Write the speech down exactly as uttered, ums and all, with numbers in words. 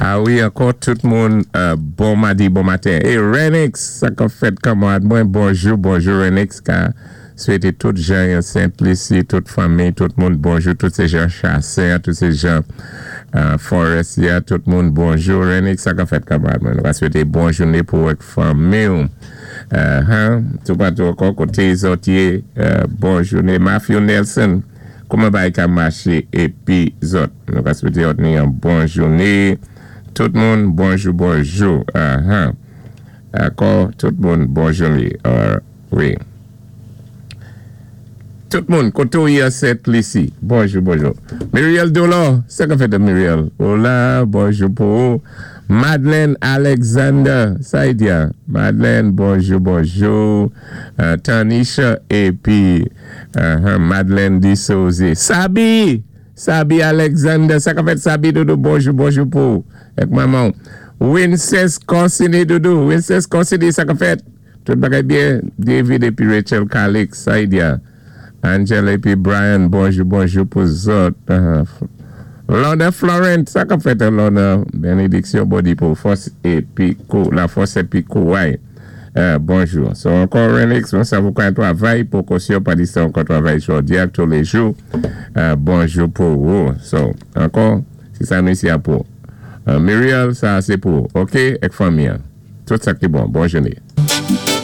A wi, ankò tout moun, bon madi, bon maten. É Renix, sa k ap fèt kanmarad mwen, bonjou, bonjou Renix, ka swété tout jan Saint-Lucie, tout fanmi, tout moun, bonjou, tout sé jan Chassin, tout sé jan Forestier, tout moun, bonjou Renix, sa k ap fèt kanmarad mwen. Nou ka swété bon jouné pou ak fanmi. Tout patou ankò, koté zòt yé, bon jouné. Matthew Nelson, kouman bagay ka maché épi zòt. Nou ka swété ni yon bon jouné. Tout moun, bonjou, bonjou. Ankò, tout moun, bon jouné. Wi. Tout moun, koté ou yé Sent Lisi. Bonjou, bonjou. Muriel Dolo, sa k ap fèt Muriel? Hola, bonjou pou ou. Madeleine Alexander, sa y di ya. Madeleine, bonjou, bonjou. Tanisha, épi Madeleine Dissouze. Sabi, Sabi Alexander, sa k ap fèt Sabi doudou, bonjou, bonjou pou ou. Ek maman. Winces Corsini doudou, Winces Corsini, sa k ap fèt. Tout bagay byen, David épi Rachel Calix, sa y di ya. Angela épi Brian, bonjou, bonjou pou zòt. Lorna Florent, sa k ap fèt Lorna, bénédiksyon bodi pou fòs épi kou, la fòs épi kouway. Bonjou. So ankò Renix, mwen sa vou kan travay pou kosyo pa di sa ankò travay jodi ak tou lé jou. Bonjou pou ou. So, ankò, si sa nou isi a pou. Muriel, sa sé pou. Ok, ek fanmi an. Tout sa ki bon. Bon jouné.